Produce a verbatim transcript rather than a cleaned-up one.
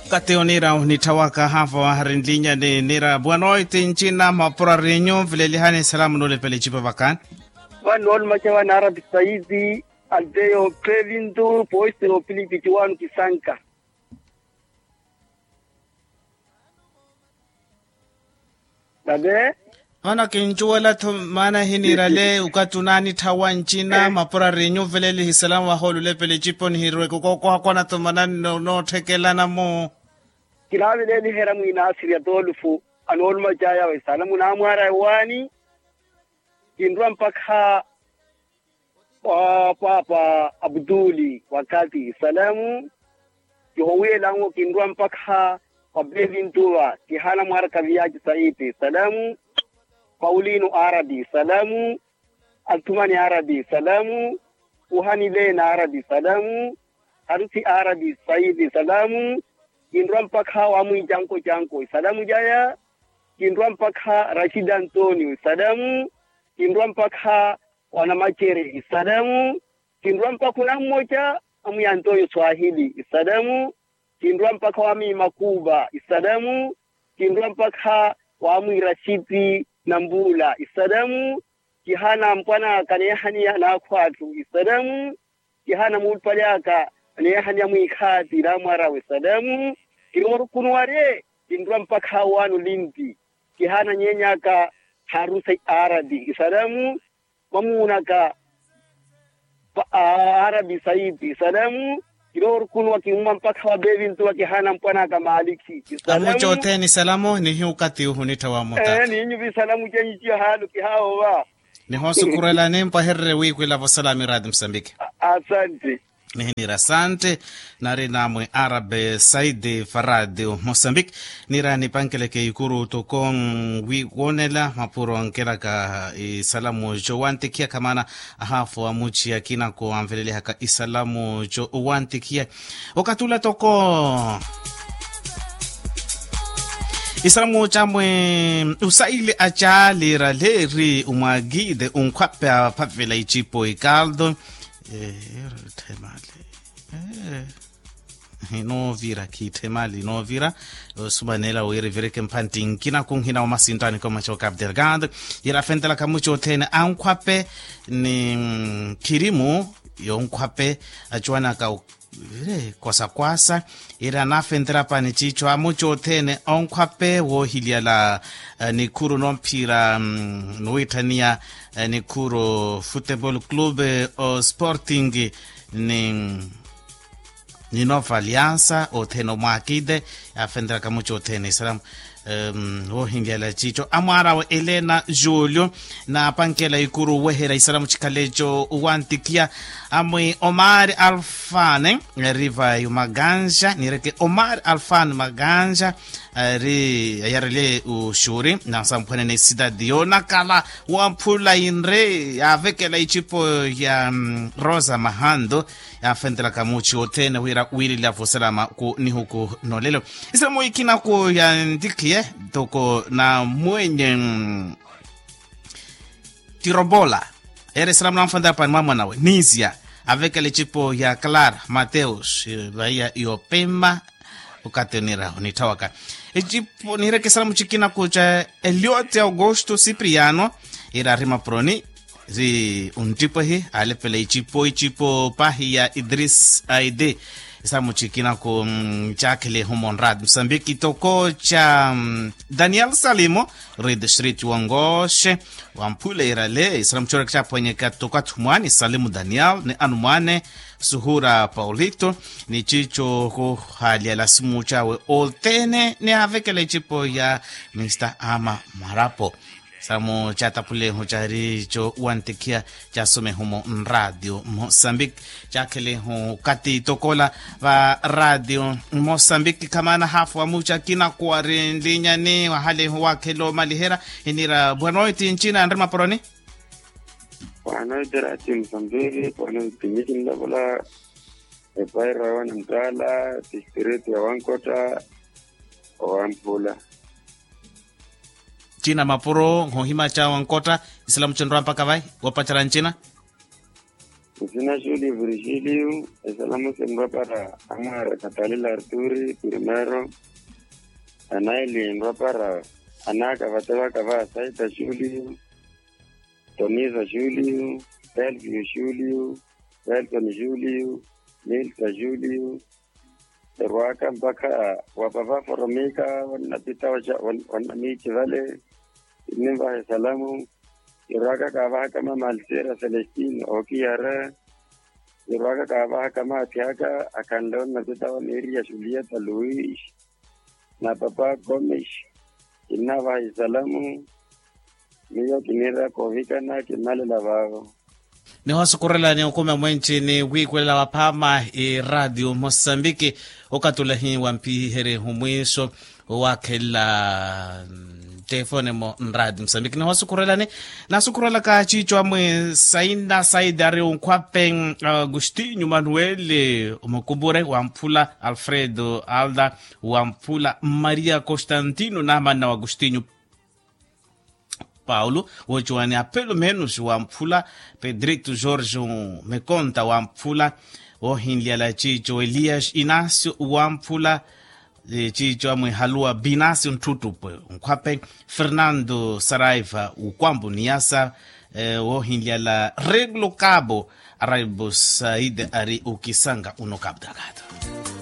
Kati onira onitthawaka haafa wahari nlinyani nira bwanoiti ncina mapura rinyu nvilelihani salamu nulepela ecipa vakani. Vano olumaca vana arabi saidi, aldeyo pevintu poistiro pilipiti wanu kisanka. Nave vano kincuwela-tho maana hiniirale okathi onaanitthawa ncina mapura rinyu nvelelihi salamu vahoolulepela ecipa onihirweke okookohakwana-tho maana nootthelana-mo. Kinaaveleliherya mwiina asiri atolufu anoolumacaya we salamu naamwaara ewaani. Kinrwa mpakha wa paapa abutuli wakati salamu. Kihowiyelanwo kinrwa mpakha wa pevintuva kihana mwaaraka viyaci saipi salamu. Paulino arabi salamu. Athumani arabi salamu. Kuhani leena arabi salamu. Harusi arabi saipi salamu. Kinrwa mpakha wa mwiicanko canko isalamu caya. Kinrwa mpakha rashidi antonio isalamu. Kinrwa mpakha wa namacere isalamu. Kinrwa mpakha onammoca amwiyantoyo swahili isalamu. Kinrwa mpakha wa miimakuuva isalamu. Kinrwa mpakha wa mwirashiti nambuula isalamu. Kihana mpwan'aka neehaniya naakhw'atthu isalamu. Kihana muulupale aka neehaniya mwiikhaati namwar'awe isalamu. Kinoorukunuwarye kinrwa mpakha wanu limpi. Kihana nyeeny'aka harusi arabi isalamu. Mamuunaka arabi saipi isalamu. Kinoorukunuwa kimmwa mpakha wa pevintuwa kihana mpwan'aka maalikhi isalamu. Amuca othene isalamu nihiukati uhunittha wamutata. Ninyuvi isalamu cenyu ciyo haalu kihaawova. Nihoosukurela nimpahererye wiikwila vosalami raati musambiki. Asante. Nihinira asante. Nari namwe arabe saidi faradio mosambiki. Nira nipankeleke ikuru toko wi woonela mapuro nkelaka isalamu jowantikhiya khamana. Ahaafu amuciya kinako anvelelihaka isalamu jowantikhiya. Okathi ula toko isalamu camwe usaile acalira leeri umwakite unkhwape aphavela icipo ikalto. Ero itthemali. Hinoovira khiitthemali inoovira. Osumanela wira ivireke mphantti nkina khunhina omasinttaani komaca okapu delgado. Yira afentelaka muci othene ankhwape ni khirimu yonkhwape acuwanaka vire kwasakwasa. Ira naafentera pani ciico amuci othene onkhwape woohiliyala nikhuru nomphira nuwitthaniya nikhuru futebol club o sporting ni ni nova aliansa othene omwaakite. Yaafenteraka muci othene isalamu woohinlyala ciico amwaarawe elena julio naapankela ikuru oweherya isalamu cikhaleco owantikhiya amwi omari alfane eri vayi omaganja nireke omari alfane maganja eri ayarelye oxuri nansamphwanene esitati yoonakala wamphula inre yaavekela icipo ya rosa mahanto. Yaafentelaka muci othene wira wiililya vosalama ku nihuku nolelo. Isalamu ikina ku yantikhiye toko na mwenye tirobola ere isalamu nanfentela pani mwamwanawe nisia avekela icipo ya clara mateus vaiya yopema. Okathi onira onitthawaka ecipo nihireke isalamu cikina ku ca eliote augusto cipriano ira ari mapuroni ri onttipo ehi aalepela icipo icipo pahi ya idris aide. Isalamu cikina ku caakhele ehumo nrati musambiki toko ca daniel salimo ri distrito wangoxe wamphula irale isalamu cooreke caaphwanyeka toko athumwani salimu daniel ni anumwane suhura paulito ni ciico kuhaalyela simu cawe othene ni aavekela icipo ya mista ama marapo. Samu caatapulehu caari co wantikhiya caasomehu mu nraatio mosambiki caakhelehu kati tokola va radio mosambiki khamana haafu wa muca kinakuwari nlinyani wahalehu waakhela omaliherya. Inira bwanoiti ncina anri maporoni. Bwanoiti rati mosambiki bwanoiti miki nlovola epaira wa namutala distrito ya wankotta. Owamphula. Ncina mapuro nhohima ca wankotta. Isilamu cinrwa mpaka vai woopacerya ncina. Nsina julio virgilio. Esalamu sinrwa para amwara katalila arturi primero. Anaili nrwa para anaka vatevaka va saita julio, tonisa julio, telvio julio, telton julio, milta julio. Erwaka mpakha wapava foromika wannapita wannamiici vale. Innivaha esalamu. Irwaka kaavahaka mama alsera celestine okiyara. Irwaka kaavahaka maathi aka akhanle onnapita wa miriya julieta luis na papa comis. Kinnavaha isalamu. Miyo kinira kovikana kimalela vaavo. Nihosukurelani okumi amwenci ni wiikwelela waphaama iraatiyo mosambiki. Okatulahi wampiherye humwiiso owakhelela telefone mo nraatiyo mosambiki nihosukurelani. Nasukurelaka ciico amwe saina saidi ari onkhwape agustinho manuel, omukupure wamphula alfredo alda wamphula maria constantino namanna wa agustinho paulo woociwani apelo menos wamphula pedrito george mekonta wamphula wohinlyala ciico elias inacio wamphula ciico amwihaluwa binacio ntthuttupwe nkhwape fernando saraiva ukwambo niyasa wohinlyala reglo cabo araibo said ari okisanga uno cabo delgado.